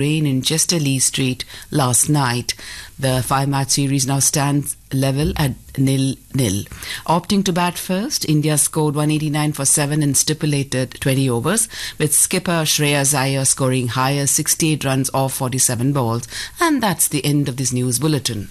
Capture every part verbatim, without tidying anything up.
rain in Chester Lee Street last night. The five match series now stands level at nil nil. Opting to bat first, India scored one eighty-nine for seven in stipulated twenty overs, with skipper Shreyas Iyer scoring highest sixty-eight runs off forty-seven balls. And that's the end of this news bulletin.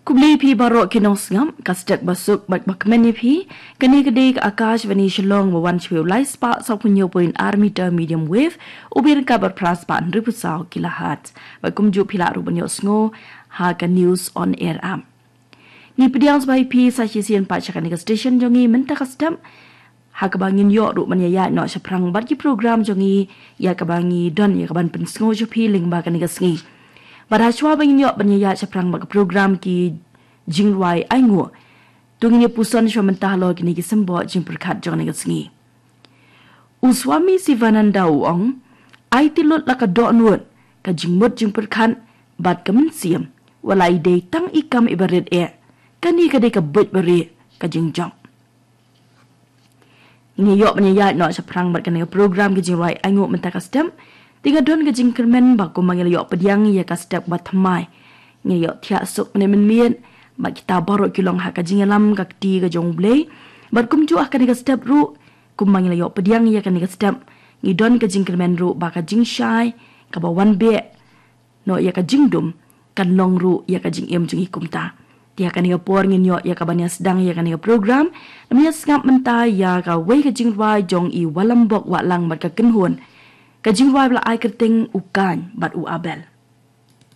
Khublei phi baroh ki nongsngap, ka stek basuk bad bakmen ïa phi. Kane ka dei ka Akashvani Shillong ba wan sha phi u lai spah saw phew hynñiew point ar meter medium wave, u byrngkat bad phra spah hynriew phew saw kilohertz. Bad kumjuh phi lah ruh ban ïohsngew ha ka News on Air app. Ngi pdiang sngewbha ïa phi sa shisien pat sha kane ka station jong ngi mynta ka step, ha kaba ngin ïoh ruh ban ïaid noh shaphrang bad ki program jong ngi, ïa kaba ngi don ïa kaban pynsngew sha phi lyngba kane ka sngi. Bad hashwa ba ngin ïoh ban ïaid shaphrang bad ka program Ki Jingrwai Ainguh, to ngin ïa puson shuwa mynta halor kine ki symbud jingpyrkhat jong kane ka sngi. U Swami Sivananda u ong, aiti lut la ka dohnud, ka jingmut jingpyrkhat bad ka mynsiem, wat la i dei tang i kam iba rit eh, kane ka dei ka buit barieh ka jingjop. Ngi ïoh ban ïaid noh shaphrang bad kane ka program Ki Jingrwai Ainguh mynta ka step, te nga don ka jingkyrmen ba kumba ngi la ïoh pdiang ïa ka step ba thymmai, ngi ïoh thiah suk mynne mynmiet, bad kita baroh ki long ha ka jingïalam ka kti ka jong U Blei. Bad kumjuh ha kane ka step ruh, kumba ngi la ïoh pdiang ïa kane ka step, ngi don ka jingkyrmen ruh ba ka jingshai kaba wan beh noh ïa ka jingdum kan long ruh ïa ka jingim jong ngi kumta. Te ha kane ka por ngin ïoh ïa kaban ïa sdang ïa kane ka program, ngin ïa sngap mynta ïa kawei ka jingrwai jong i Walambok Wahlang bad ka kynhun. Ka jingrwai ba la ai kyrteng U Kain bad U Abel.